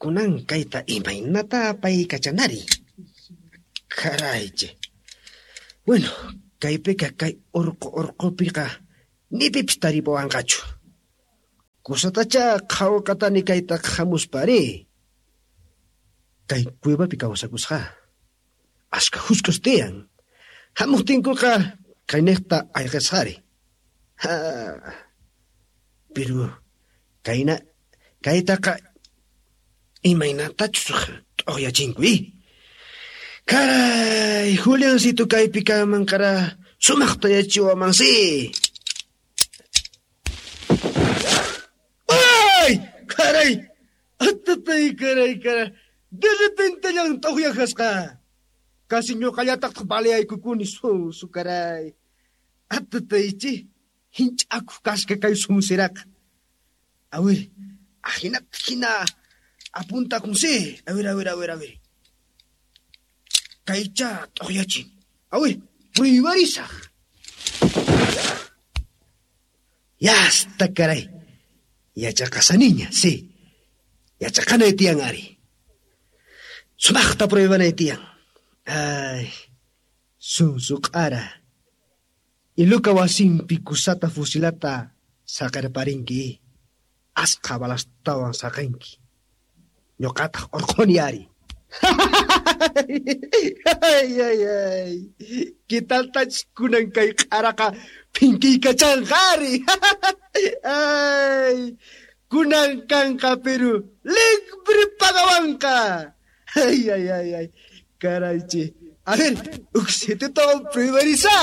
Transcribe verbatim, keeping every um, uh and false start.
Kunan kayta imaynata apaykachanari. Karayche. Bueno, kaypiqa kay urqu urqupiqa ni pipis taripuwanqachu. Kusatacha qhawqatani kayta hamuspari. Kay cuevapi kawsakusqa. Ashka husk'us tiyan. Hamuqtinkuqa kayniqta ayqisqari. Ha. Pero kayna kaytaqa imaynatachus t'uqyachinku i. Karay, Juliancito kaypi kanman kara sumaqta yachachiwanmansi. ¡Ay! Karay! Atatay, karay, karay. De repente llan t'uqyajasqa. Casi ñuqallataqtaq baleaykukuni susu karay. Atataychi, hinch'akuq kasqa kay sunsiraqa. A ver, ajinata hina apuntakunsi. A ver, a ver, a ver, a ver. Kaycha t'uqyachin. A ver, pruibarisaq. Yasta karay. Yachaqasaniña, sí. Yachaqanay tiyan ari. Sumaqta pruibanay tiyan. Ay, sunsu q'ara. Iluka wasinpi kusata fusilata saqirparinki. Asqa balastawan saqinki. Ñuqataq urquni ari. Ay, ay, ay. ¿Qué taltachus kunan kay q'araqa phinkiykachaanqa ari? Ay, kunan kanqa Perú libre pagawanqa. Ay, ay, ay, ay. Karaychi. A ver, uksititawan pruibarisaq.